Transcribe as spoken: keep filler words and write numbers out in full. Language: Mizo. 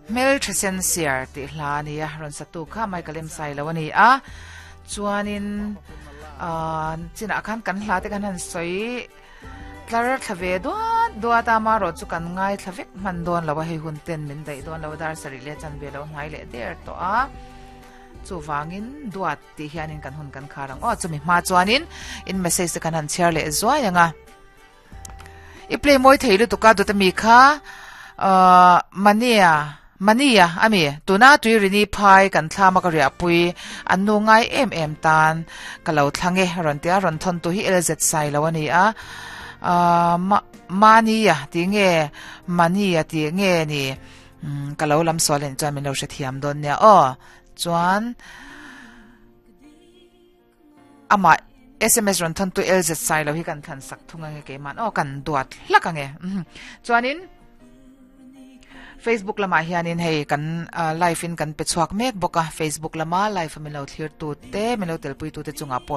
Mel thesen siar ti hla ni a ron satu kha Michael M Sai lo ani a chuanin a china khan kan hla te kan han soi tlar thlave duat duat ama ro chu kan ngai thlavek man don lo hei hun ten min dai don lo dar sari le chan ve lo ngai le der to a chu wangin duat ti hianin kan hun kan kharang o chumi ma chuanin in message te kan han share le zuai anga i play moi theilu tuka du ta mi kha mania mania ami tuna tuirini phai kan thlama ka ria pui an nu ngai em em tan ka lo thlange ron tia ron thon tu hi lz sai lo ani a mania ti nge mania ti nge ni ka lo lam solen chuan min lo hre thiam don nia o chuan ama S M S ron thon tu L Z sai lo hi kan than sak thunga nge ke man o kan duat hlak ange chuanin Facebook lama hianin hei kan live in kan pe chuak mek boka Facebook lama live mi lo thlir tu te mi lo tel pui tu te chunga.